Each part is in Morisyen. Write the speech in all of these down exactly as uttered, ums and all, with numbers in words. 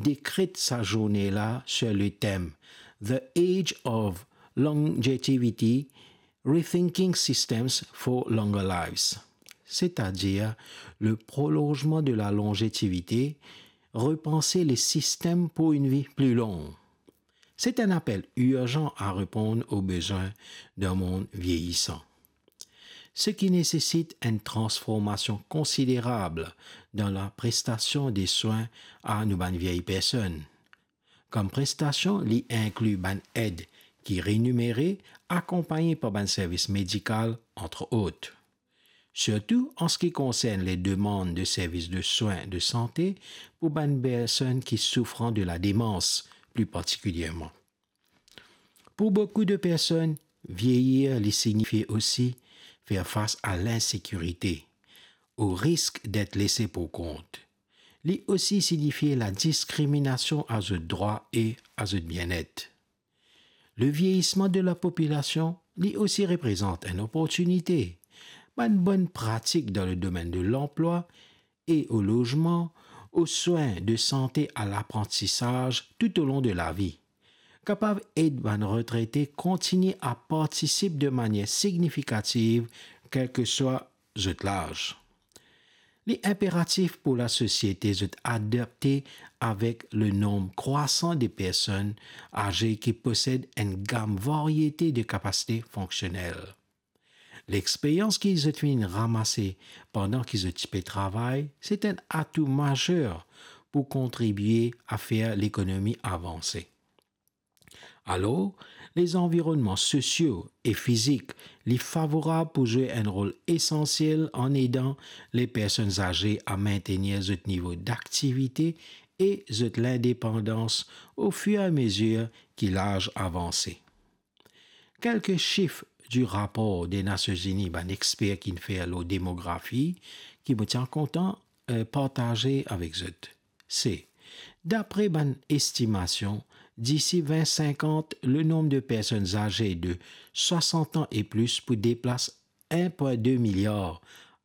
dekret sa zourne la sur le thème The Age of Longevity, Rethinking Systems for Longer Lives, c'est-à-dire le prolongement de la longévité, repenser les systèmes pour une vie plus longue. C'est un appel urgent à répondre aux besoins d'un monde vieillissant, ce qui nécessite une transformation considérable dans la prestation des soins à nou bann vieilles personnes. Kom prestasyon, li inkli bann ed ki renimere, akonpagn par bann servis medikal, entre autres. Surtout en ce qui concerne les demandes de services de soins de santé pour bann personn ki soufran de la démence, plus particulièrement. Pour beaucoup de personnes, vieillir li signifie aussi faire face à l'insécurité, au risque d'être laissé pour compte. Li osi signifie la diskriminasion a zot drwa e a zot bienet. Le vieillissement de la population, li osi reprezant enn oportinite. Bann bonn pratik dan le domenn de lanplwa e o lozman, o swin de sante, a laprantisaz toutalong de lavi, kapav ed bann retrete kontigne a partisip de manier signifikativ, kelseswa zot laz. Li inperatif pou lasosiete zot adapte avek le nonb krwasan de personn aze ki posed enn gam variete de kapasite fonksionel. Lexperyans ki zot finn ramase pandan ki zot ti pe travay, se enn atou mazer pou kontribie a fer lekonomi avanse. Alor, lezanvironnman sosio e fizik, li favorab pou zwe enn rol esansiel an edan le personn aze a mintenir zot nivo daktivite e zot lindepandans ofiramezer ki laz avanse. Kelke sif di rapor de Nasion Zini bann exper ki'nn fer lor demografi ki mo ti a kontan, eh, partaze avek zot. Se, dapre bann estimasion, disi vin sinkant, le nonb de personn aze de swasant an e plis pou depas enn pwin de miliar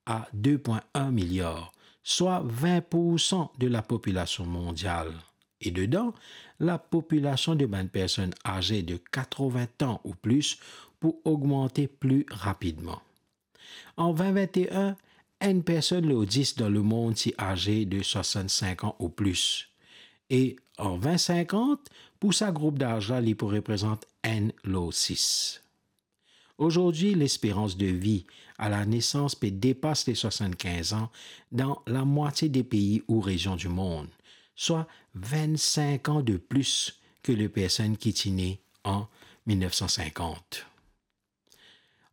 a de pwin enn miliar, swa vin poursan de lapopilasion mondial. E dedan, lapopilasion de bann personn aze de katrovin an ou plis pou ogmante pli rapidman. An vin vin e enn, enn personn lor dis dan lemond ti aze de swasant-sink an ou plis. E an vin sinkant, pou sa group daz la, li pou reprezant enn lor sis. Azordi, lesperans de vi a lanesans pe depas le swasannkinz an dan lamwatie de pei ou rezion dimond, swa vin sink an de plis ke le personn ki ti ne an mil nef san sinkant.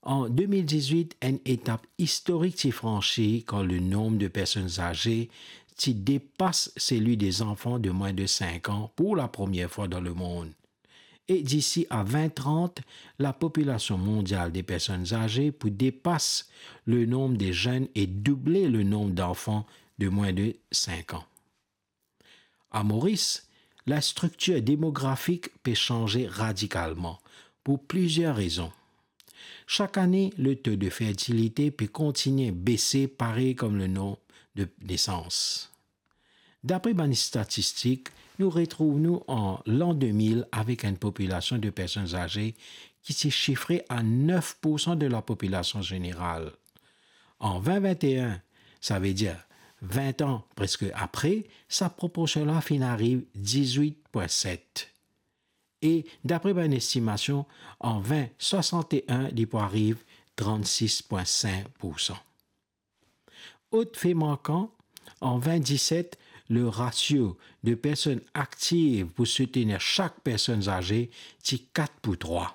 An de mil dizwit, enn etap istorik ti fransi kan le nonb de personn aze ti depas seli de zanfan de mwin de sink an pou lapremier fwa dan lemond. E disi a vin trant, lapopilasion mondial de personn aze pou depas le nonb de zenn e double le nonb danfan de mwin de sink an. A Moris, lastriktir demografik pe sanze radikalman pou plizier rezon. Sak ane, le to de fertilite pe kontigne bese parey kom le nonb de nesans. Dapre bann statistik, nou retrouv nou an lan de mil avek enn popilasion de personn aze ki ti sifre a nef poursan de lapopilasion zeneral. An vin vin e enn, savedir vin an preske apre, sa proporsion la finn ariv dizwit pwin set. E dapre bann estimasion, an vin swasant e enn, li pou ariv trannsis pwin sink poursan. Lot fe markan, an vin diset, le rasio de personn aktiv pou soutenir sak personn aze ti kat pou trwa.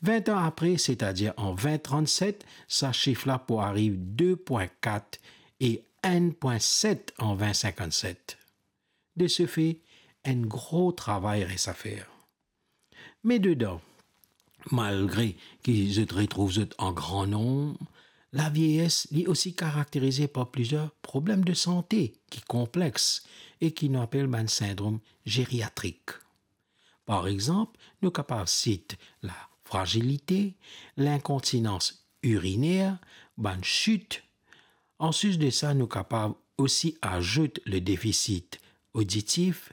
Vin an apre, setadir an vin trannset, sa sif la pou ariv de pwin kat e enn pwin set an vin sinkant set. De se fe, enn gro travay res a fer. Me dedan, malgre ki zot retrouv zot an gran nonb, lavieyes li osi karakterize par plizier problem de sante ki konplex e ki nou apel bann sindrom zeriatrik. Par exanp, nou kapav sit lafrazilite, linkontinans iriner, bann sit. Anplis de sa, nou kapav osi azout le defisi oditif,